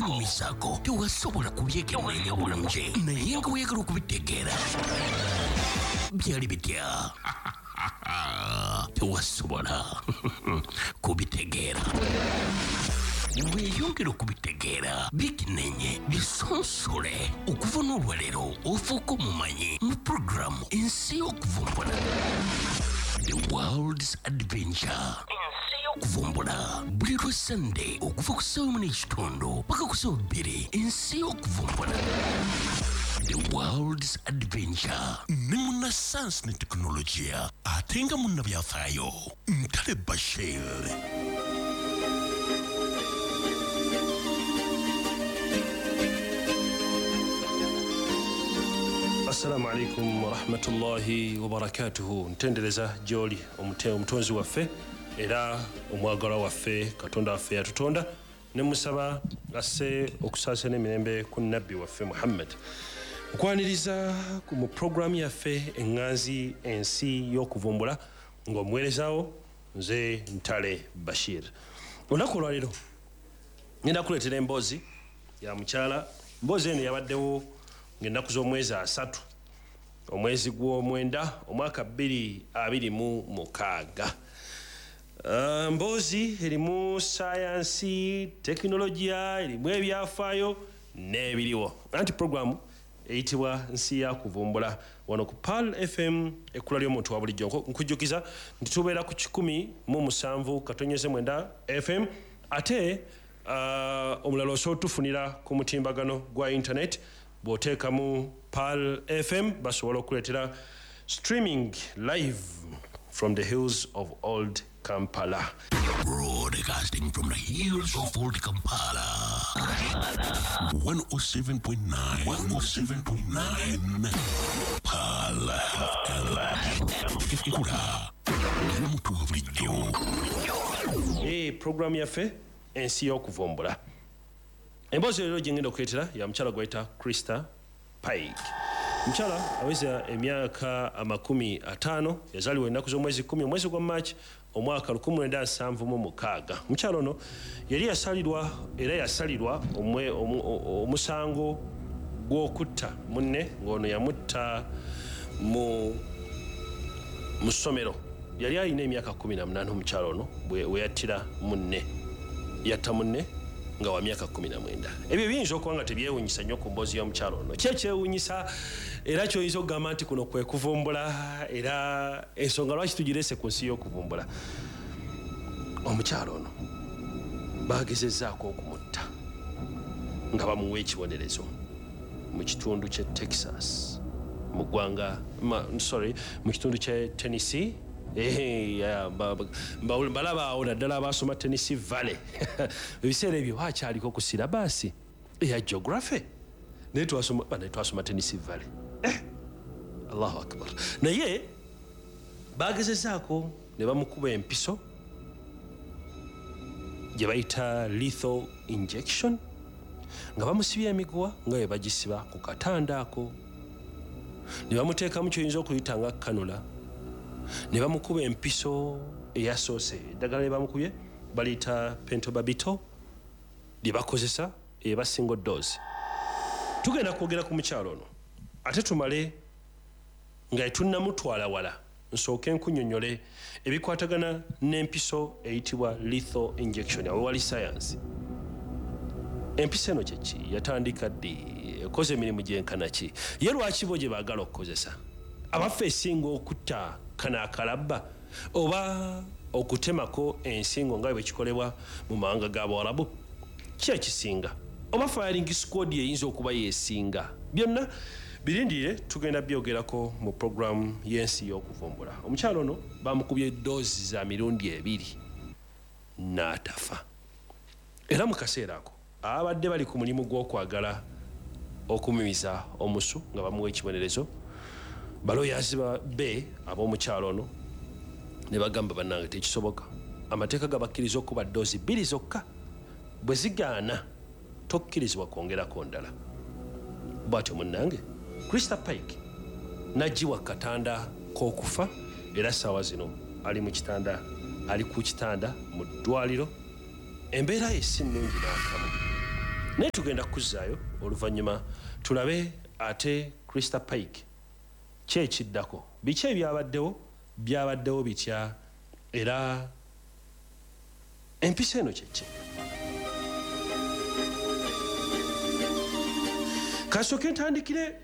Bikunyumizaako tewasobola kubyekenneenya bulungi, naye nga weeyagala okubitegeera. Byali bitya? Tewasobola kubitegeera. Weeyongera okubitegeera, bikenenye, bisonsole. Okuva n'olwaleero ofuuka omumanyi mu puroguramu Ensi y'Okuvumbula, The World's Adventure. Ensi y'Okuvumbula buli lwa Sande okuva ku ssaawa 1:30 paka ku ssaawa 2. Ensi y'Okuvumbula, The World's Adventure, ne munnasayansi ne tekinologiya ate nga munnabyafaayo Ntale Bashir. Assalamu alaikum warahmatullahi wabarakatuhu. Ntendereza gy'oli omutonzi waffe era omwagalwa waffe, Katonda waffe yatutonda, ne musaba asse okusaasira n'emirembe ku nabbi waffe Muhammad. Nkwaniriza mu puroguramu yaffe eŋŋanzi Ensi y'Okuvumbula, ng'omuweerezaawo nze Ntale Bashir. Olunaku olwaleero ngenda kuleetera emboozi ya mukyala. Mboozi eno yabaddewo ng'ennaku z'omwezi 30 omwezi gw'omwenda omwaka 2026. Mboozi erimu sayansi, tekinologiya, erimu ebyafaayo n'ebiriwo, anti puroguramu eyitibwa Nsi ya Kuvumbula wano ku Pearl FM, ekkula ly'omuntu wa bulijjo. Nkujjukiza nti tubeera ku 107.9 FM, ate omulala osobola otufunira ku mutimbagano gwa internet. Bw'oteekamu Pearl FM basobola okuleetera streaming live from the hills of Old Kampala. Broadcasting from the hills of Old Kampala. 107.9, 107.9 Pearl FM. Ekkula ly'omuntu wa bulijjo. Programu yaffe Ensi y'Okuvumbula. Emboozi leero gye ngenda okuleetera ya mukyala gwayita Christa Pike. Mukyala aweza emyaka 50, yazaalibwa ennaku z'omwezi 10 omwezi gwa March omwaka 1976. Mukyala ono yali yasalirwa era yasalirwa omusango gw'okutta munne, ng'ono yamutta mu ssomero. Yali alina emyaka 18 omukyala ono we yattira munne. Yatta munne nga wa myaka 19. Ebyo biyinza okuba nga tebyewuunyisa nnyo ku mboozi y'omukyala ono. Ki ekyewuunyisa era ky'oyinza okugamba nti kuno kwe kuvumbula, era ensonga lwaki tugireese ku Nsi y'Okuvumbula? Omukyala ono bagezezzaako okumutta nga bamuwa ekibonerezo mu kitundu ky'e Texas, mu ggwanga, sorry, mu kitundu ky'e Tennessee. Mbalaba awo naddala abasoma Tennessee Valley. Ebiseera ebyo bakyaliko ku syllabus eya geography, naye twasoma Tennessee Valley. Allahu akbar. Naye bagezezaako ne bamukuba empiso gye bayita lethal injection, nga bamusibye emiguwa nga bwe bagisiba ku katanda ako, ne bamuteekamu kyoyinza okuyita nga kanula, ne bamukuba empiso eyasoose. Eddagala lye bamukubye baliyita pentobarbital, lye bakozesa eba single dose. Tugenda kwogera ku mukyalo ono, ate tumale nga tetunnamutwala wala, nsooke nkunnyonnyole ebikwatagana n'empiso eyitibwa lethal injection. Awo wali science. Empiso eno kyeki? Yatandika ddi? Ekoze emirimu gyenkana ki? Ye lwaki bo gye baagala okukozesa? Abaffe, esinga okutta kano akalabba oba okutemako ensingo nga bwe kikolebwa mu mawanga g'Abawarabu? Ki ekisinga? Oba firing squad eyinza okuba yeesinga? Byonna birindirire, tugenda byogerako mu puroguramu y'Ensi y'Okuvumbula. Omukyalo ono bamukubye doozi za mirundi ebiri n'atafa, era mu kaseera ako abadde bali ku mulimu gw'okwagala okumimiza omusu nga bamuwa ekibonerezo. Baloyazi be ab'omukyalo ono ne bagamba, bannange, tekisoboka, amateeka gabakkiriza okuba doozi bbiri zokka, bwe zigaana tokkirizibwa kwongerako ndala. Bw'atyo munnange Christa Pike n'aggyibwa ku katanda k'okufa, era ssaawa zino ali mu kitanda, ali ku kitanda mu ddwaliro. Embeera ye si nnungi n'akamu. Naye tugenda kukuzzaayo oluvannyuma tulabe ate Christa Pike ki ekiddako, biki ebyabaddewo, byabaddewo bitya, era empisa eno kyeki. Kansooke ntandikire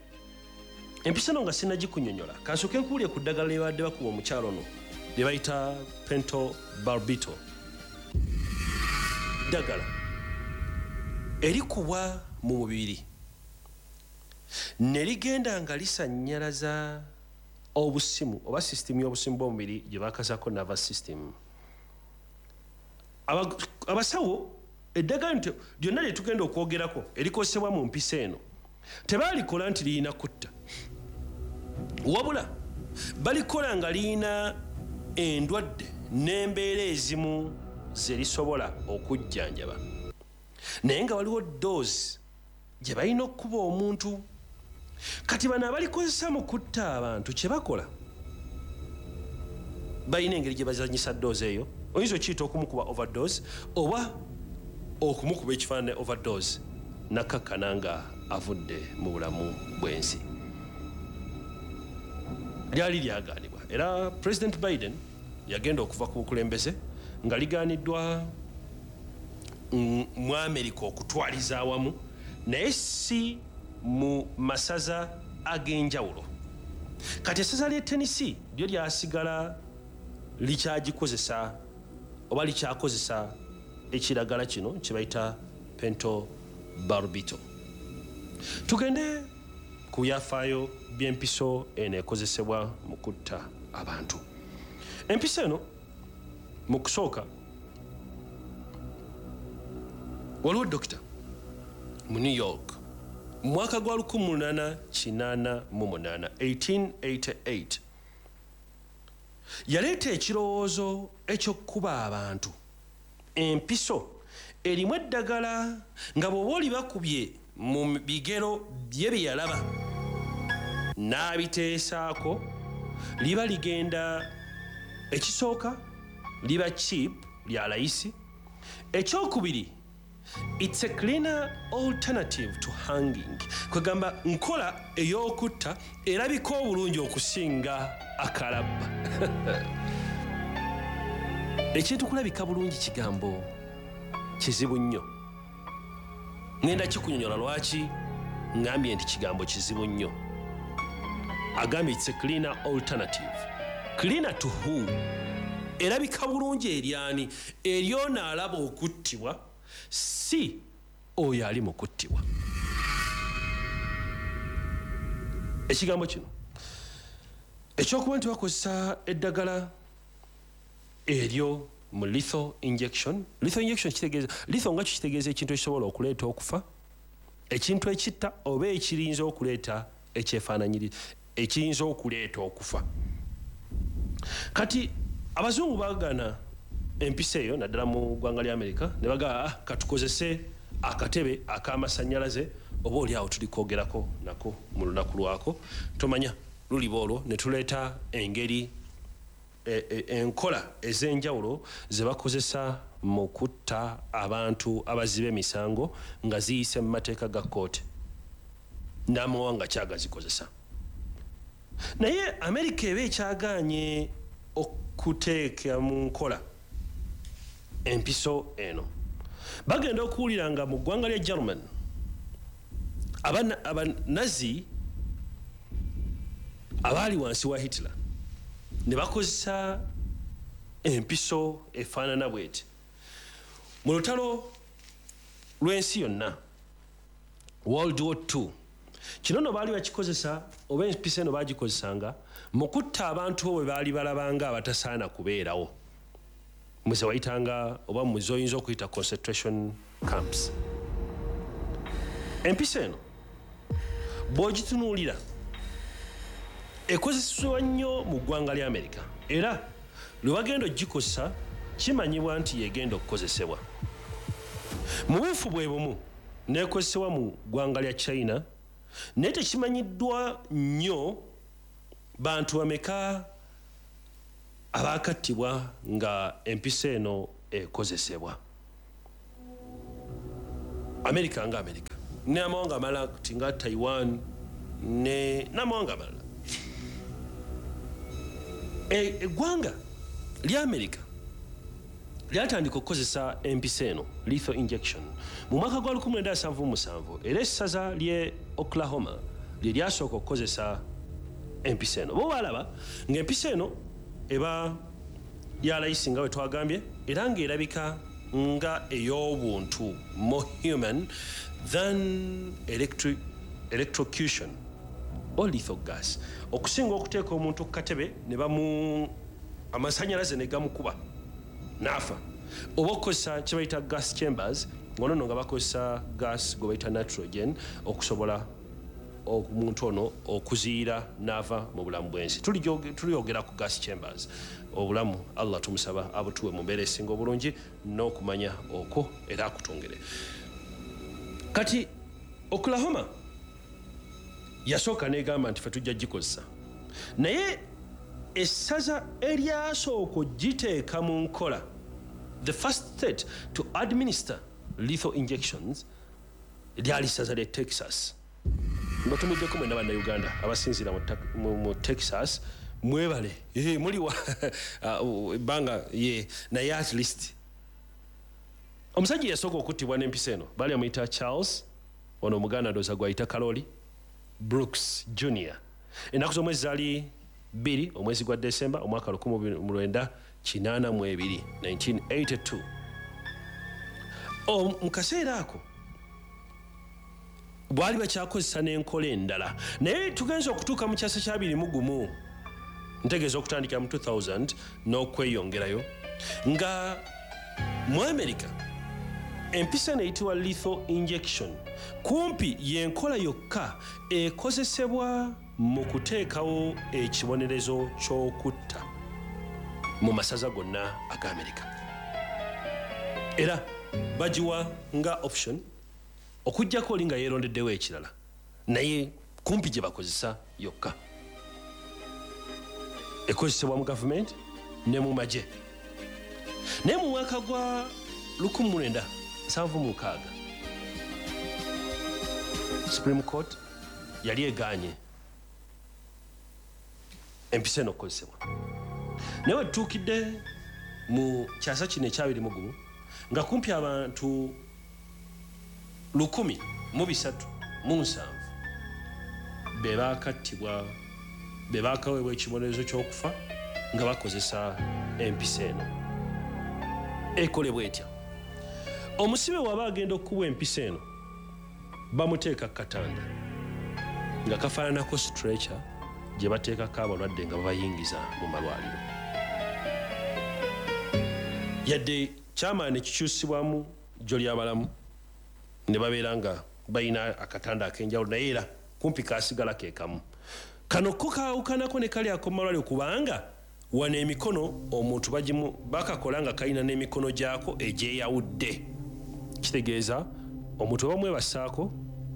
empisa eno nga sinnagikunyonnyola, kansooke nkuwulire ku ddagala lye babadde bakuba omukyalo ono lye bayita pentobarbital. Ddagala erikubwa mu mubiri ne ligenda nga lisannyalaza obusimu oba sisitimu y'obusimu bw'omubiri gye bakazaako nervous system. Abasawo eddagala lyonna lye tugenda okwogerako erikozesebwa mu mpisa eno tebalikola nti lirina kutta, wabula balikola nga lirina endwadde n'embeera ezimu ze lisobola okujjanjaba, naye nga waliwo doozi gye balina okukuba omuntu. Kati bano abalikozesa mu kutta abantu kye bakola, balina engeri gye bazanyisa doozi eyo. Oyinza okiyita okumukuba overdose oba okumukuba ekifaananyi overdose nakkakkana nga avudde mu bulamu bw'ensi. Lyali lyagaanibwa, era President Biden yagenda okuva ku bukulembeze nga ligaaniddwa mu Amerika okutwaliza awamu, naye si mu masaza ag'enjawulo. Kati essaza ly'e Tennessee lyo lyasigala likyagikozesa oba likyakozesa ekiragala kino kye bayita pentobarbital. Tugende ku byafaayo by'empiso eno ekozesebwa mu kutta abantu. Empiso eno mu kusooka waliwo dokita mu New York mu mwaka gwa 1888, 1888, yaleeta ekirowoozo eky'okukuba abantu empiso erimu eddagala nga bw'oba olibakubye mu bigero bye bye yalaba n'abiteesaako, liba ligenda ekisooka liba cheap, lya layisi. Ekyokubiri, it's a cleaner alternative to hanging, kwegamba nkola ey'okutta erabika obulungi okusinga akalabba. Ekintu kulabika bulungi kigambo kizibu nnyo. Ngenda kikunyonyola lwaki ngambye nti kigambo kizibu nnyo. Agambye it's a cleaner alternative. Cleaner to who? Erabika bulungi eryani? Eryono alaba okuttibwa, si oyo ali mu kuttibwa. Ekigambo kino ekyokuba nti bakozesa eddagala eryo mu lethal injection. Lethal injection kitegeeza, lethal nga kitegeeza ekintu ekisobola okuleeta okufa, ekintu ekitta oba ekiyinza okuleeta ekyefaananyiriza, ekiyinza okuleeta okufa. Kati abazungu baagaana empisa eyo naddala mu ggwanga lya Amerika, ne bagamba katukozese akatebe ak'amasannyalaze, oba oli awo tuli kwogerako nako mu lunaku lwako, tomanya luliba olwo ne tuleeta engeri enkola ez'enjawulo ze bakozesa mu kutta abantu abaziba emisango nga ziyise mu mateeka ga kkooti n'amawanga kyagazikozesa. Naye Amerika eba ekyagaanye okuteeka mu nkola empiso eno. Bagenda okuwulira nga mu ggwanga lya German Abanazi abaali wansi wa Hitler ne bakozesa empiso efaanana bweti. Mu lutalo lw'ensi yonna, World War II, kino nno baali bakikozesa oba empiso eno baagikozesanga mu kutta abantu bo bwe baali balabanga abatasaana kubeerawo, muze wayitanga oba muze oyinza okuyita concentration camps. Empiso eno bw'ogitunuulira ekozesebwa nnyo mu ggwanga lya Amerika, era lwe bagenda ogikozesa kimanyibwa nti yegenda okukozesebwa. Mu buufu bwe bumu n'ekozesebwa mu ggwanga lya China, naye tekimanyiddwa nnyo bantu bameka abaakattibwa nga empiso eno ekozesebwa. Amerika nga Amerika n'amawanga amalala ti nga Taiwan n'amawanga amalala. Eggwanga lya Amerika lyatandika okukozesa empiso eno, lethal injection, mu mwaka gwa 1977, era essaza ly'e Oklahoma lye lyasooka okukozesa empiso eno. Bo balaba ng'empiso eno eba ya layisi nga bwe twagambye, era ng'erabika nga ey'obuntu, more human than electrocution or lethal gas, okusinga okuteeka omuntu ku katebe ne bamu amasanyalaze ne gamukuba n'afa, oba okukozesa kye bayita gas chambers, ngono nno nga bakozesa gas gwe bayita nitrogen okusobola omuntu ono okuziyira n'ava mu bulamu bw'ensi. Tuliyogera ku gas chambers. Obulamu Allah tumusaba abutuwe mu mbeera esinga obulungi n'okumanya okwo era akutongere. Kati Oklahoma yasooka n'egamba nti ffe tujja gikozesa, naye essaza eryasooka ogiteeka mu nkola, the first state to administer lethal injections, lyali ssaza lye Texas. Mbatumiddeko mwenna Bannayuganda abasinziira mu Texas, mwebale. Muliwa ebbanga ye, naye at least omusajja yasooka okuttibwa n'empiso eno baali amuyita Charles, ono omuganda ndowooza gwayita Kaloli Brooks Junior. Ennaku z'omwezi zaali 2 omwezi gwa Desemba omwaka 1982, 1982. Mu kaseera ako bwali bakyakozesa n'enkola endala, naye tugenza okutuuka mu kyasa kya 21, ntegeeza okutandikira mu 2000 n'okweyongerayo, nga mu Amerika empiso eno eyitibwa lethal injection kumpi y'enkola yokka ekozesebwa mu kuteekawo ekibonerezo ky'okutta mu masaza gonna aga Amerika, era bagiwa nga option okuggyako oli nga yeerondeddewo ekirala, naye kumpi gye bakozesa yokka. Ekozesebwa mu gavumenti ne mu magye. Naye mu mwaka gwa 1976 Supreme Court yali egaanye empiso eno okukozesebwa, naye wetutuukidde mu kyasa kino ekyabiri mu gumu nga kumpi abantu 1307 be bakattibwa, be bakaweebwa ekibonerezo ky'okufa nga bakozesa empiso eno. Ekolebwa etya? Omusibe waba agenda okukubwa empiso eno, bamuteeka ku katanda nga kafaananako stretcher gye bateekako abalwadde nga babayingiza mu malwaliro. Yadde kyamaani kikyusibwamu jjo ly'abalamu ne babeera nga balina akatanda ak'enjawulo, naye era kumpi kasigala ke kamu. Kano ko kaawukanako ne kali ak'omu malwaliro, kubanga wano emikono omuntu bakakola nga kalina n'emikono gyako egyeyawudde. Kitegeeza omuntu bamwebasaako,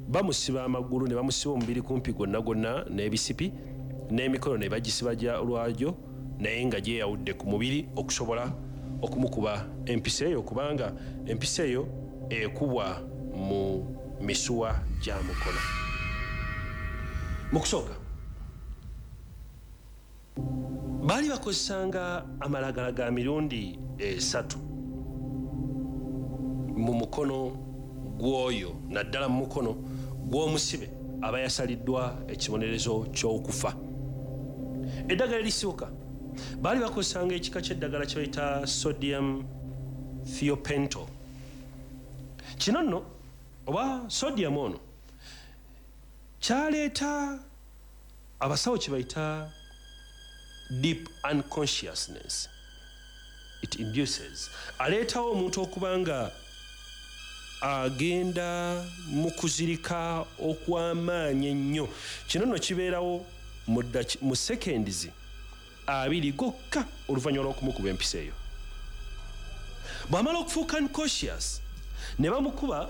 bamusiba amagulu ne bamusiba omubiri kumpi gwonna gwonna n'ebisipi, n'emikono ne bagisiba lwagyo, naye nga gyeyawudde ku mubiri okusobola okumukuba empiso eyo, kubanga empiso eyo ekubwa mu misuwa gya mukono. Mu kusooka baali bakozesanga amalagala ga mirundi 3 mu mukono gw'oyo, naddala mu mukono gw'omusibe aba yasaliddwa ekibonerezo ky'okufa. Eddagala erisooka baali bakozesanga ekika ky'eddagala kye bayita sodium thiopental. Kino nno oba sodium ono kyaleeta abasawo kye bayita deep unconsciousness. It induces, aleetawo omuntu okuba nga agenda mu kuzirika okw'amaanyi ennyo. Kino nno kibeerawo mu seconds 2 gokka oluvannyuma lw'okumukuba empiso eyo. Bw'amala okufuuka unconscious ne bamukuba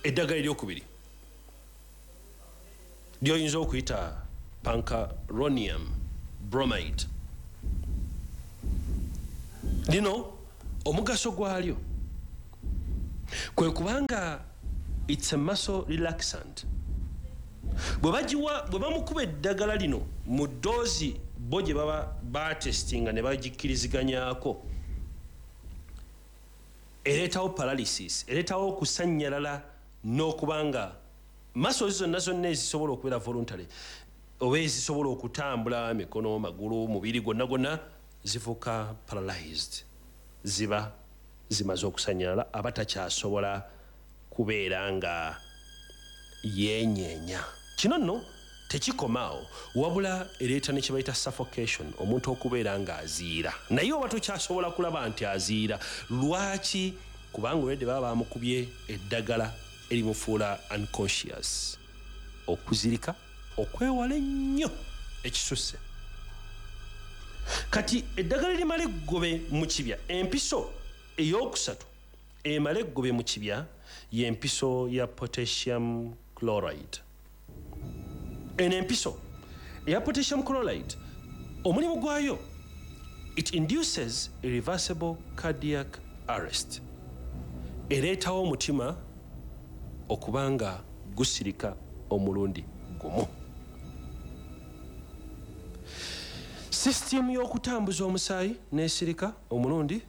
eddagala eryokubiri ly'oyinza okuyita pancuronium bromide. Lino omugaso gwalyo Kwe kubanga it's a muscle relaxant. Bwe bagiwa, bwe bamukuba eddagala lino mu doozi bo gye baba batestinga ne bagikkiriziganyako, ereetawo paralysis, ereetawo okusannyalala n'okuba nga muscles zonna zonna ezisobola okubeera voluntary oba ezisobola okutambula, mikono, magulu, mubiri gwonna gwonna, zifuuka paralyzed, ziba zimaze okusannyalala, aba takyasobola kubeera nga yeenyeenya. Kino nno tekikomaawo, wabula ereeta ne kye bayita suffocation, omuntu okubeera ng'aziira, naye oba tokyasobola kulaba nti aziira. Lwaki? Kubanga olwedde baba bamukubye eddagala erimufuula unconscious, okuzirika okwewala ennyo ekisusse. Kati eddagala erimala eggobe mu kibya, empiso eyokusatu emala eggobe mu kibya, y'empiso ya potassium chloride. Eno empiso eya potassium chloride, omulimu gwayo, it induces irreversible cardiac arrest, ereetawo omutima okuba nga gusirika omulundi gumu, sisitimu y'okutambuza omusaayi n'esirika omulundi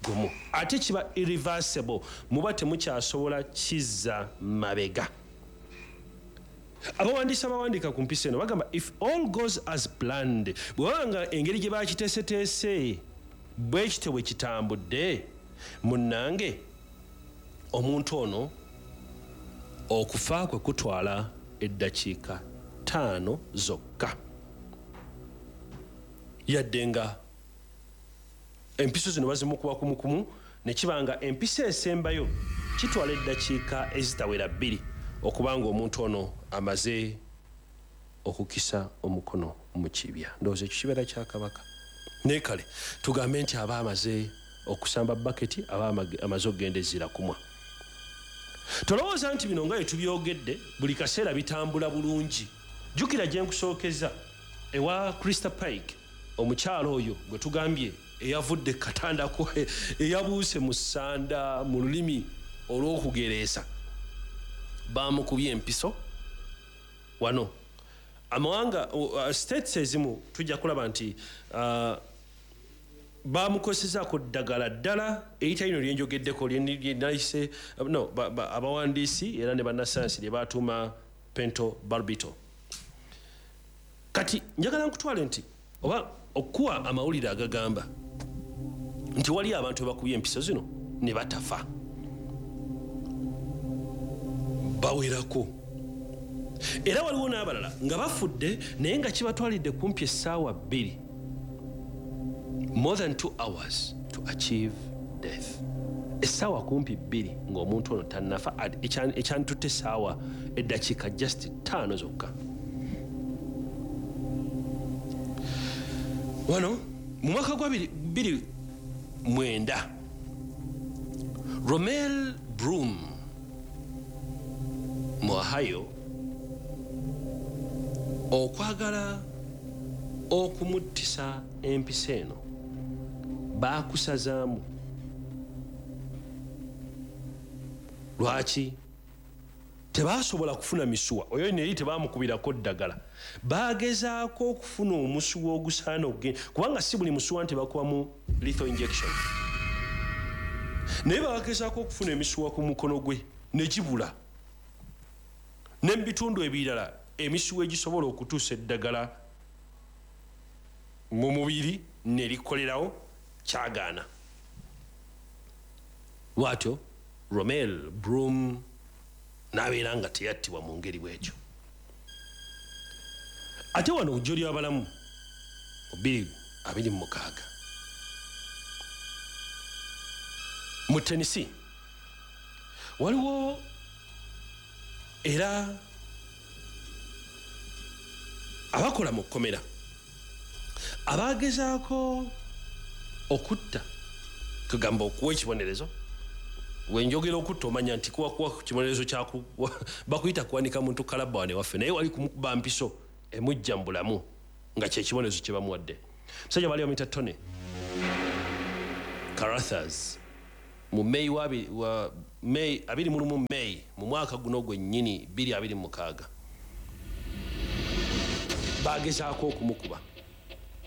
gumu, ate kiba irreversible, muba temukyasobola kizza mabega. Abawandiisi abawandiika ku mpisa eno bagamba, if all goes as planned, bwe baba nga engeri gye bakiteeseteese bwe kityo bwe kitambudde, munnange, omuntu ono okufa kwe kutwala eddakiika 5 zokka, yadde nga empiso zino bazimukuba kumukumu, ne kiba nga empiso esembayo kitwala eddakiika ezitawera 2 okuba nga omuntu ono amaze okukisa omukono mu kibya. Ndowooza ekyo kibeera kya kabaka, naye kale tugambe nti aba amaze okusamba baketi, aba amaze okugenda ezira kumwa. Tolowooza nti bino nga bye tubyogedde buli kaseera bitambula bulungi. Jjukira gye nkusookeza ewa Christa Pike, omukyalo oyo gwe tugambye eyavudde katandako, eyabuuse mu ssanda mu lulimi olw'okugereesa, bamukubye empiso. Wano amawanga, states ezimu, tujja kulaba nti bamukozesaako ddagala ddala erita lino lyenjogeddeko lyenayise no abawandiisi era ne bannasayansi lye batuuma pentobarbital. Kati njagala nkutwale nti oba okuwa amawulire agagamba nti wali abantu bakubye empiso zino ne batafa bawerako, era waliwo n'abalala nga bafudde naye nga kibatwalidde kumpi essaawa 2, more than 2 hours to achieve death, essaawa kumpi 2 ng'omuntu ono tannafa, ekyanditutte essaawa eddakiika just 5 zokka. Wano mu mwaka gwa 2009, Romel Broom mu Ohio, okwagala okumuttisa empisa eno baakusazaamu. Lwaki? Tebasobola kufuna misuwa, oyo neri tebamukubirako ddagala, bagezaako okufuna omusuwa ogusaana okugenda, kubanga si buli musuwa nti bakubamu lethal injection, naye bagezaako okufuna emisuwa ku mukono gwe ne gibula, ne mu bitundu ebirala emisuwa egisobola okutuusa eddagala mu mubiri ne likolerawo kyagaana. Bw'atyo Romel Broom n'abeera nga teyattibwa mu ngeri bw'etyo. Ate wano jjo ly'abalamu mu 2026 mu Tennessee, waliwo era abakola mu kkomera abagezaako okutta, kugamba okuwa ekibonerezo. Wenjogera okutta omanya nti kuwa kibonerezo bakuyita kuwanika muntu kalabba wane waffe, naye wali kumukuba mpiso emujja mu bulamu nga kyekibonerezo kye bamuwadde. Musajja baali bamuyita Tony Carothers, mu May wa May 21 May mu mwaka guno gwennyini 2026 bagezaako okumukuba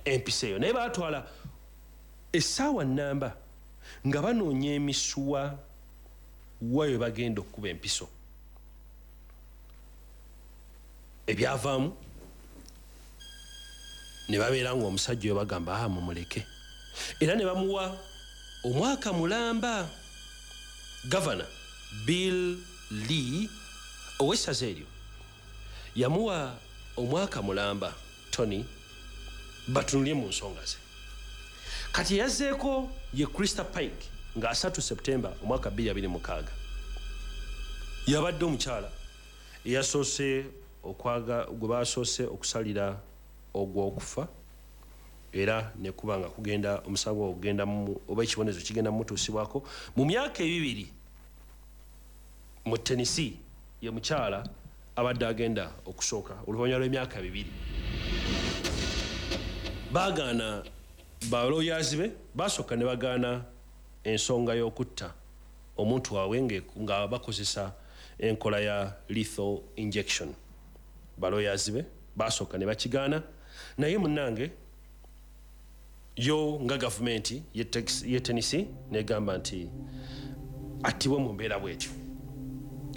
empiso eyo, naye baatwala essaawa nnamba nga banoonya emisuwa wayo bagenda okukuba empiso. Ebyavaamu ne babeera ng'omusajja oyo bagamba ah mumuleke, era ne bamuwa omwaka mulamba. Gavana Bill Lee ow'essaza eryo yamuwa omwaka mulamba Tony batunulye mu nsonga ze. Kati yazzeeko ye Christa Pike nga 3 September omwaka 2026 yabadde omukyala eyasoose okwaga gwe basoose okusalira ogw'okufa, era ne kuba nga kugenda omusango ogenda oba ekibonerezo kigenda mumutuusibwako mu myaka 2 mu Tennessee. Ye mukyala abadde agenda okusooka oluvannyuma lw'emyaka 2. Baagaana balooyazi be basooka ne bagaana ensonga y'okutta omuntu waabwe nga bakozesa enkola ya lethal injection. Balooyazi be basooka ne bakigaana, naye munnange yo nga gavumenti ye Tennessee negamba nti attibwe mu mbeera bwetyo.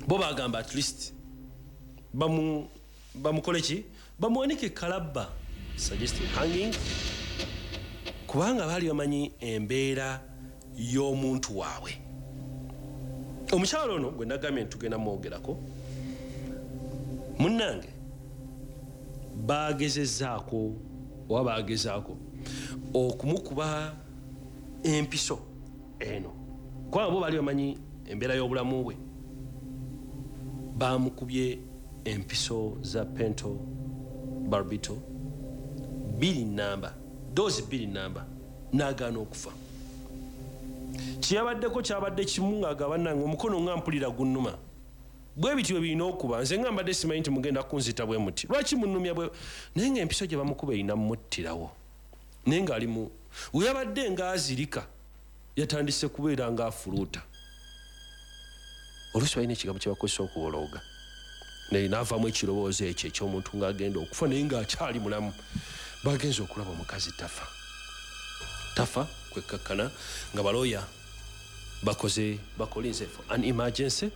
Bo bagamba at least bamukole ki, bamuwanike kalabba, suggesting hanging, kubanga baali bamanyi embeera y'omuntu waabwe. Omukyalo ono gwe nagambye nti tugenda mwogerako, munnange bagezezaako oba bagezaako okumukuba empiso eno, kubanga bo baali bamanyi embeera y'obulamu bwe. Bamukubye empiso za pento barbito 2 namba, doozi 2 namba, n'agaana okufa. Kyeyabaddeko kyabadde kimu ng'agamba nange omukono nga mpulira gunnuma, bwe bityo bwe birina okuba, nze nga mbadde simanyi nti mugenda kunzita bwe muti, lwaki munnumya bwe? Naye ng'empiso gye bamukuba erina mmuttirawo, naye ng'ali mu we yabadde ng'azirika yatandise kubeera ng'afuluuta. Oluusi balina ekigambo kye bakozesa okubolooga, naye n'avaamu ekirowoozo ekyo eky'omuntu ng'agenda okufa naye ng'akyali mulamu. Bagenze okulaba omukazi tafa, tafa kwekkakkana nga balooya bakoze bakolinze for an emergency,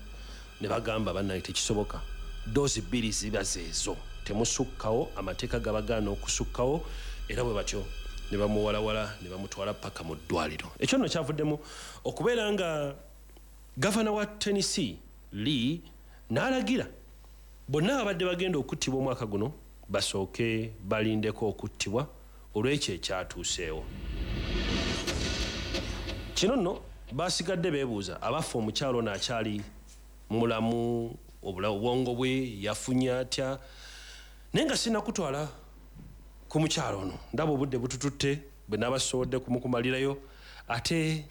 ne bagamba bannange tekisoboka, doozi 2 ziba zeezo, temusukkawo, amateeka gabagaana okusukkawo. Era bwe batyo ne bamuwalawala ne bamutwala paka mu ddwaliro. Ekyo nno kyavuddemu okubeera nga gavana wa Tennessee Lee n'alagira bonna abadde bagenda okuttibwa omwaka guno basooke balindeko okuttibwa olw'ekyo ekyatuuseewo. Kino nno basigadde beebuuza abaffe omukyalo ono akyali mulamu, obwongo bwe yafunye atya? Naye nga sinnakutwala ku mukyalo ono, ndaba obudde butututte bwe nabasobodde kumukumalirayo, ate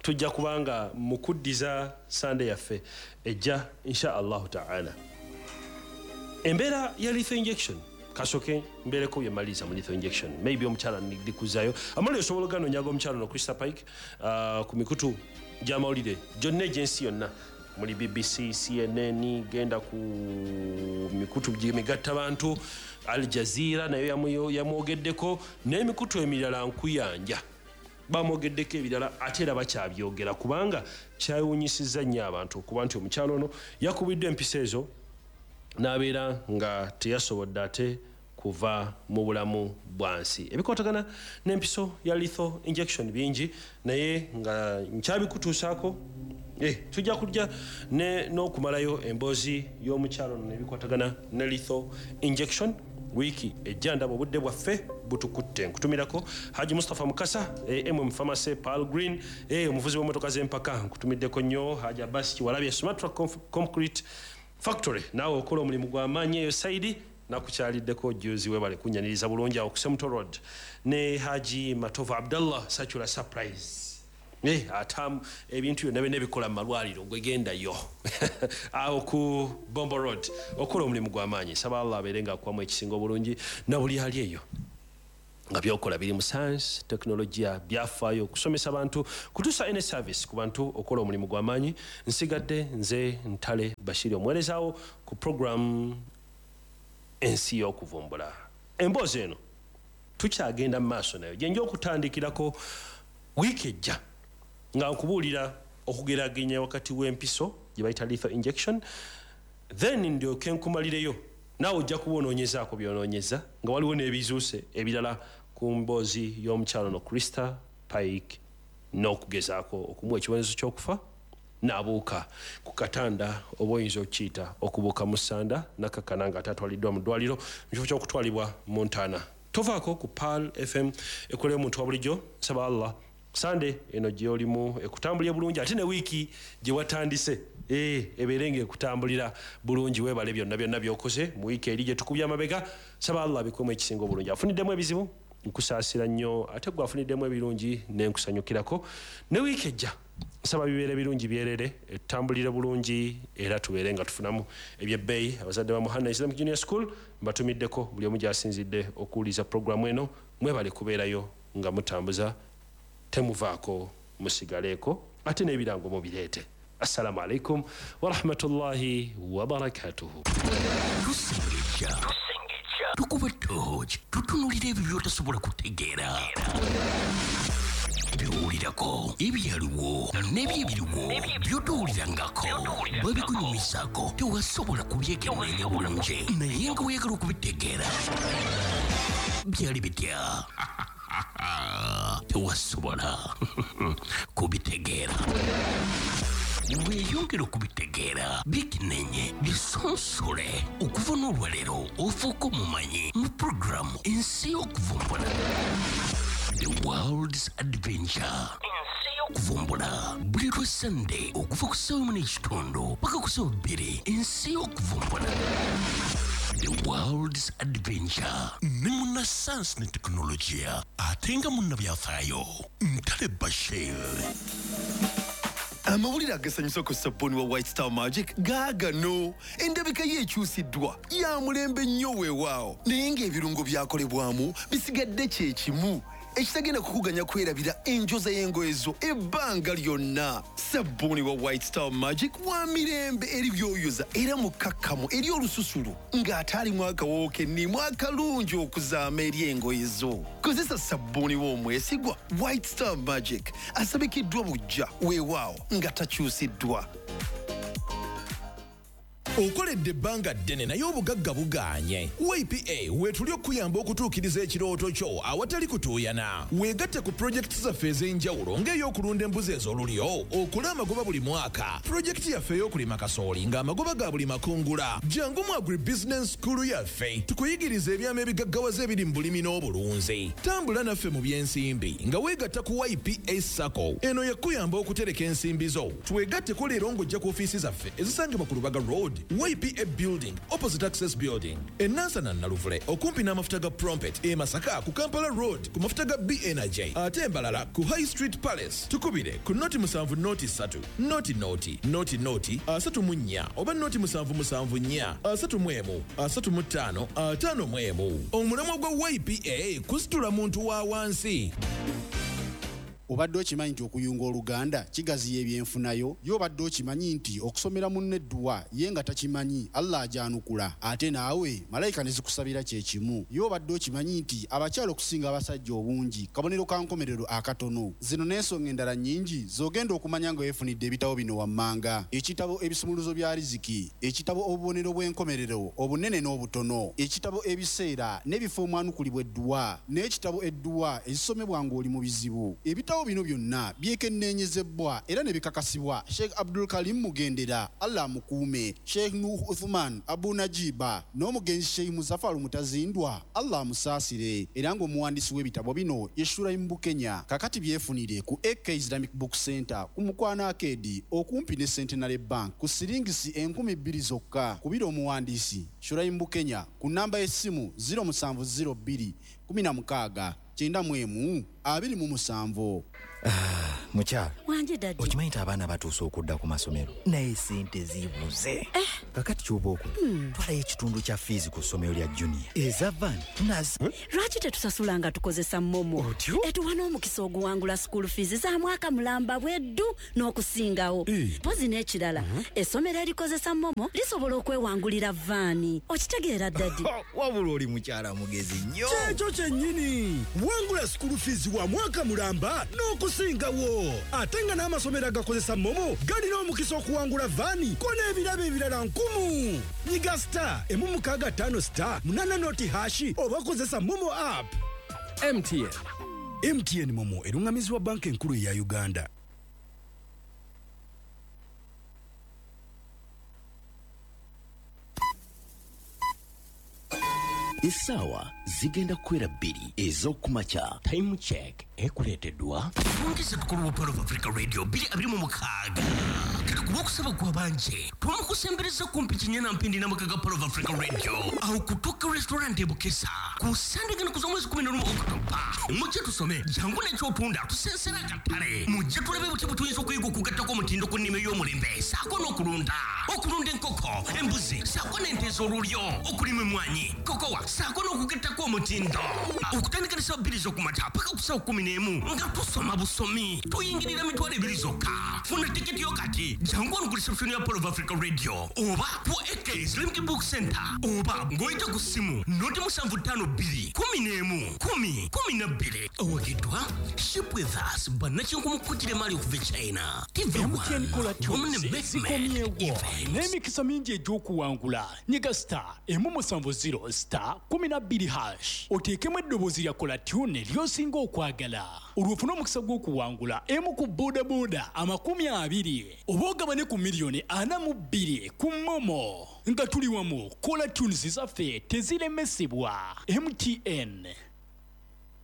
tujja kubanga mukuddiza Sande yaffe ejja insha Allahu ta'ala. Embeera ya lethal injection kasoke mbeereko bye mmaliriza mu lethal injection, maybe omukyala ndikuzayo amawulire osobola oganonyaga omukyala ono Christa Pike ku mikutu gy'amawulire gyonna egy'ensi yonna, muli BBC, CNN, genda ku mikutu gy'emigattabantu, Al Jazeera nayo yamwogeddeko, n'emikutu emirala nkuyanja bamwogeddeko ebirala, ate era bakyabyogera kubanga kyewuunyisizza nnyo abantu okuba nti omukyala ono yakubiddwa empiso ezo n'abeera nga teyasobodde ate kuva mu bulamu bwa nsi. Ebikwatagana n'empiso ya lethal injection bingi, naye nga nkyabikutuusaako tujja kujja n'okumalayo emboozi y'omukyalo ono n'ebikwatagana ne lethal injection wiiki ejja. Ndaba obudde bwaffe butukutte. Nkutumirako Haji Mustafa Mukasa, MM Pharmacy, Pearl Green, omuvuzi w'emmotoka z'empaka, nkutumiddeko nnyo. Haji Abbas Kiwalabye, Sumatra Concrete Factory, naawe okola omulimu gw'amaanyi eyo saidi, nakukyaliddeko juzi, webale kunyaniriza bulungi awo ku Semuto Road. Ne Haji Matovu Abdallah, Sacula Surprise, atamu ebintu byonna byonna ebikola mu malwaliro, gwegendayo awo ku Bombo Road, okola omulimu gw'amaanyi. Nsaba Allah abeere ng'akuwamu ekisinga obulungi na buli ali eyo. Nga byokola biri mu science, tekinologiya, byafaayo, okusomesa abantu, kutuusa ene service ku bantu, okola omulimu gw'amaanyi. Nsigadde nze Ntale Bashiri, omuweerezaawo ku program Ensi y'Okuvumbula. Emboozi eno tukyagenda mu maaso nayo, gyenja okutandikirako wiiki ejja nga nkubuulira okugeragenya wakati w'empiso gye bayita lethal injection, then ndyoke nkumalireyo. Naawe ojja kuba onoonyezaako byonoonyeza nga waliwo n'ebizuuse ebirala ku mboozi y'omukyalo no Christa Pike, n'okugezaako okumuwa ekibonerezo ky'okufa n'abuuka ku katanda, oba oyinza okukiyita okubuuka mu ssanda, nakakkana nga atatwaliddwa mu ddwaliro mu kifo ky'okutwalibwa mu ntaana. Tovaako ku Pearl FM ekolera omuntu wa bulijjo. Nsaba Allah Sande eno gyolimu ekutambulire bulungi, ate ne wiiki gye watandise ebeere nga ekutambulira bulungi. Weebale byonna byonna by'okoze mu wiiki eri gye tukubye amabega. Saba Allah abikwemu ekisinga obulungi. Afuniddemu ebizibu, nkusaasira nnyo, ate gwe afuniddemu ebirungi nenkusanyukirako. Ne wiiki ejja nsaba bibeere birungi byerere, etutambulire bulungi, era tubeere nga tufunamu ebyebbeeyi. Abazadde ba Muhanna Islamic Junior School mbatumiddeko, buli omu gyasinzidde okuwuliza puroguramu eno, mwebale kubeerayo nga mutambuza, temuvaako, musigaleeko, ate n'ebirango mubireete. Assalamu alaikum warahmatullahi wabarakatuhu. Tusengejja, tukuba tooki, tutunulira ebyo by'otasobola kutegeera, byowulirako, ebyaliwo n'ebyebiriwo by'otowulirangako, babikunyumizaako, tewasobola kubyekenneenya bulungi, naye nga weeyagala okubitegeera. Byali bitya? Tewasobola kubitegeera. Weeyongera okubitegeera, bikinenye, bisonsole. Okuva n'olwaleero ofuuka omumanyi mu puroguramu Ensi y'Okuvumbula, The World's Adventure, Ensi y'Okuvumbula, buli lwa Sande okuva ku ssaawa 1:30 paka ku ssaawa 2. Ensi y'Okuvumbula, The World's Adventure, ne munna sayansi ne tekinologiya ate nga munnabyafaayo Ntale Bashir. Amawulire agasanyusa ku sabbuuni wa White Star Magic gaagano. Endabika ye ekyusiddwa, ya mulembe nnyo weewaawo, naye ng'ebirungo byakolebwamu bisigadde kye kimu, ekitagenda kukuganya kwerabira enjoza y'engoye zo ebbanga lyonna. Sabbuuni wa White Star Magic wa mirembe eri byoyoza era mukkakkamu eri olususu ng'ate alimu akawoowo kennimu akalungi okuzaama eri engoye zo. Kozesa sabbuuni w'omwesigwa White Star Magic, asabikiddwa bujja weewaawo nga takyusiddwa. Okoledde ebbanga ddene naye obugagga bugaanye. YPA weetuli okuyamba okutuukiriza ekirooto kyo awatali kutuuyana. Weegatte ku pulojekiti zaffe ez'enjawulo ng'ey'okulunda embuzi ez'olulyo okola amagoba buli mwaka, pulojekiti yaffe ey'okulima kasooli ng'amagoba ga buli makungula. Jangu mu Agribusiness School yaffe tukuyigiriza ebyama ebigaggawaza ebiri mu bulimi n'obulunzi. Tambula naffe mu by'ensimbi nga weegatta ku YPA SACCO. Eno yakuyamba okutereka ensimbi zo. Twegatteko leero ng'ojja ku ofiisi zaffe ezisangibwa ku Lubaga Road, YPA Building, opposite Access Building, e Nansana Naluvule okumpi n'amafuta ga Prompet, e Masaka ku Kampala Road ku mafuta ga B Energy, ate embalala ku High Street Palace. Tukubire ku 070 3 00 00 34 oba 077 4 31 35 51. Omulamwa gwa YPA kusitula muntu wa wansi. Obadde okimanyi nti okuyunga oluganda kigaziya ebyenfunayo? Ye obadde okimanyi nti okusomera munno edduwa ye nga takimanyi, Allah agyanukula, ate naawe malayika ne zikusabira kye kimu? Ye obadde okimanyi nti abakyala okusinga abasajja obungi kabonero ka nkomerero akatono? Zino n'ensonga endala nnyingi z'ogenda okumanya nga weefunidde ebitabo bino wammanga. Ekitabo Ebisumuluzo bya Riziki, ekitabo Obubonero bw'enkomerero obunene n'obutono, ekitabo Ebiseera n'ebifo omwanukulibwa edduwa, n'ekitabo Edduwa ezisomebwa ng'oli mu bizibu. Ebitabo bino byonna byekenneenyezebbwa era ne bikakasibwa Sheikh Abdul Karim Mugendera, Allah amukuume, Sheikh Nuh Uthman Abu Najiba n'omugenzi Sheikh Muzafaru Mutazindwa, Allah amusaasire, era ng'omuwandiisi w'ebitabo bino ye Shuraim Bukenya. Kakati byefunire ku AK Islamic Book Center ku Mukwano Arcade okumpi ne Centenary Bank ku siringisi 2000 zokka. Kubira omuwandiisi Shuraim Bukenya ku nnamba y'essimu 0702 16 91 27. Mukyala Wanje daddy. Okimanyi nti abaana batuuse okudda ku masomero, naye sente zibuze. Kakati kyoba okola, twalayo ekitundu kya fiizi ku ssomero lya junior, eza van nazi. Lwaki tetusasula nga tukozesa MoMo? Otyo? Etuwa n'omukisa oguwangula school fees za mwaka mulamba bweddu n'okusingawo. Mpozi n'ekirala, essomero erikozesa MoMo lisobola okwewangulira van. Okitegeera, daddy? Wabula oli mukyala mugezi nnyo. Kyekyo kyennyini. Wangula school fees wa mwaka mulamba n'okusingawo, ate nga n'amasomero agakozesa MoMo galina omukisa okuwangula van ko n'ebirabo ebirala nkumu. Nyiga *165*8 nought hash oba kozesa MoMo app. MTN. MTN MoMo eruŋŋamizibwa Banka Enkulu eya Uganda. Essaawa zigenda kukwera 2 ez'okumakya. Time Check ekuleeteddwa Fungisa Tukulu wa Pearl of Africa Radio 2026. Kati ku lwokusaba gwabanje twamukusembereza kumpi kinyana mpindi n'amaka ga Pearl of Africa Radio awo kutuuka Restaurant e Bukesa ku Sande gano kuza omwezi 11 Okutoba. Mujje tusome, jangu n'ekyotunda, tusensera akatale. Mujje tulabe butya bwe tuyinza okuyiga okugattako omutindo ku nnima ey'omulembe saako n'okulunda, okulunda enkoko, embuzi saako n'ente ez'olulyo, okulima emmwanyi, kokowa saako n'okugattako omutindo. Okutandika ne ssaawa 2 z'okumakya paka ku ssaawa 11 nga tusoma busomi, tuyingirira 20,000 zokka. Funa tiketi yo kati, jangu wano ku reception ya Pearl of Africa Radio oba ku AK's Limited Book Center oba ng'oyita ku ssimu 075 2 11 10 12. Owagiddwa Ship With Us, bannakinku kujira emaali okuva e China, TV. MTN Caller Wamu ne Tunes Betmed zikomyewo Events. N'emikisa mingi egy'okuwangula. Nyiga *170*12# oteekemu eddoboozi lya caller tune ly'osinga okwagala, olwo ofune omukisa gw'okuwangula emu ku boodabooda 20 oba ogabane ku miliyoni 42 ku MoMo. Nga tuli wamu, caller tunes zaffe teziremesebwa. MTN.